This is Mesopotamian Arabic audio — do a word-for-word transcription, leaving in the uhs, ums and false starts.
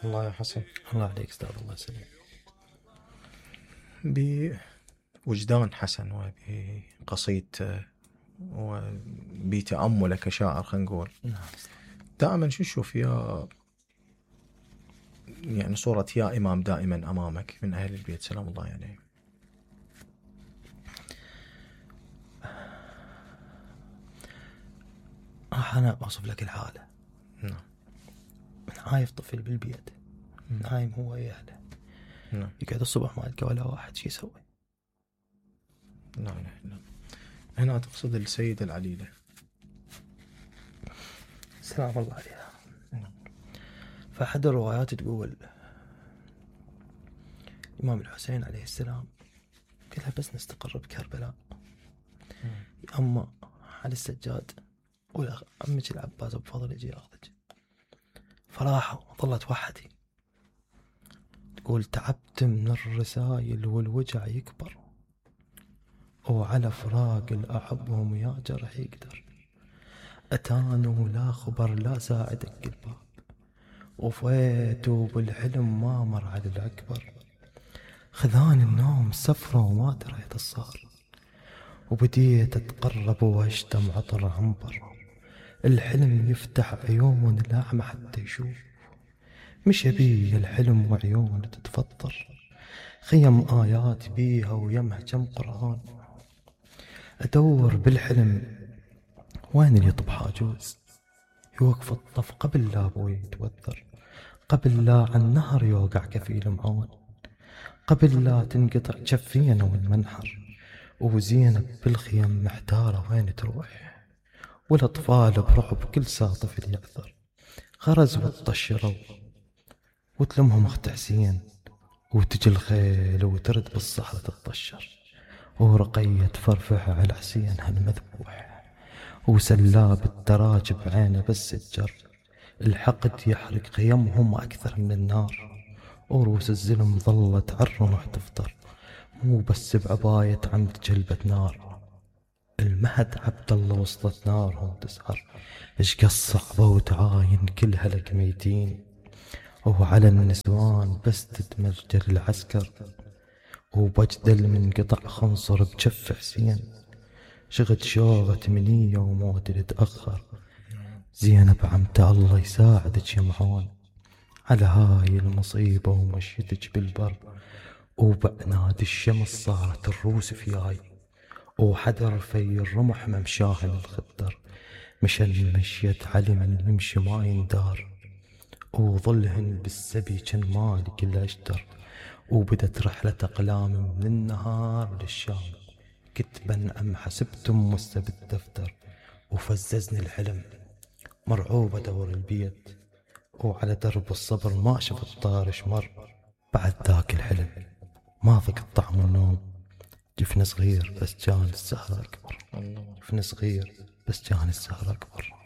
الله يا حسن. الله عليك استاذ، الله يسلمك. بوجدان حسن وبقصيدته وبتأمله كشاعر خلينا نقول، دائما شو تشوف يا يعني صورة يا إمام دائما أمامك من أهل البيت سلام الله عليه يعني. راح أنا أوصف لك الحالة. نعم. عايف طفل بالبيت، نايم هو ويا أهله، نعم. يقعد الصبح ما يلقى ولا واحد، شي يسوي؟ نعم نعم. هنا تقصد السيدة العليلة سلام الله عليها. فأحد الروايات تقول الإمام الحسين عليه السلام قالها بس نستقر بكربلاء يا أما على السجاد ويا عمك العباس أبو فضل يجي ياخذك. فراحوا ظلت وحدي تقول تعبت من الرسايل والوجع يكبر، وعلى فراق الأحبهم يا جرح يقدر، أتانوا لا خبر لا ساعدك الباب، وفيتوا بالحلم ما مر على الأكبر، خذان النوم سفرة وما دريت الصار، وبديت أتقرب وأشتم عطر عنبر، الحلم يفتح عيون الأعمى حتى يشوف، مش بي الحلم وعيون تتفطر، خيم آيات بيها ويمها كم قرآن، أدور بالحلم وين اللي يطب حاجوز، يوقف الطف قبل لا أبوي يتوثر، قبل لا عن نهر يوقع كفيل معون، قبل لا تنقطع جفينا والمنحر، وزينب بالخيم محتارة وين تروح، والأطفال برعب كل ساعة طفل يعثر، غرز وطشروا وتلمهم أخت حسين، وتجي الخيل وترد بالصحراء تتطشر، ورقية تفرفح على حسين هالمذبوح، وسلاب التراج بعينه بس الجر، الحقد يحرق خيمهم أكثر من النار، وروس الزلم ظلت عالرمح تفطر، مو بس بعباية عمد جلبة نار، المهد عبد الله وسط نارهم تسعر، اش قصعبة وتعاين كل هلك ميتين، وعلى النسوان بس تتمجر العسكر، وبجدل من قطع خنصر بجف حسين، شغد شوغة منية وموت تتأخر، زينب عمته الله يساعدك يا معون على هاي المصيبة ومشيتك بالبر، وبعناد الشمس صارت الروس فياي، وحدر في الرمح ممشاهن الخدر، مشن مشيت علي من يمشي ما يندار، وظلهن بالسبي كان مالي كل أشتر، وبدت رحلة أقلام من النهار للشام، كتبا أم حسبتم مسة بالدفتر، وفززني الحلم مرعوبة دور البيت، وعلى درب الصبر ما شفت طارش مر، بعد ذاك الحلم ما ذقت طعم النوم، جفن صغير بس كان السهر أكبر، جفن صغير بس كان السهر أكبر.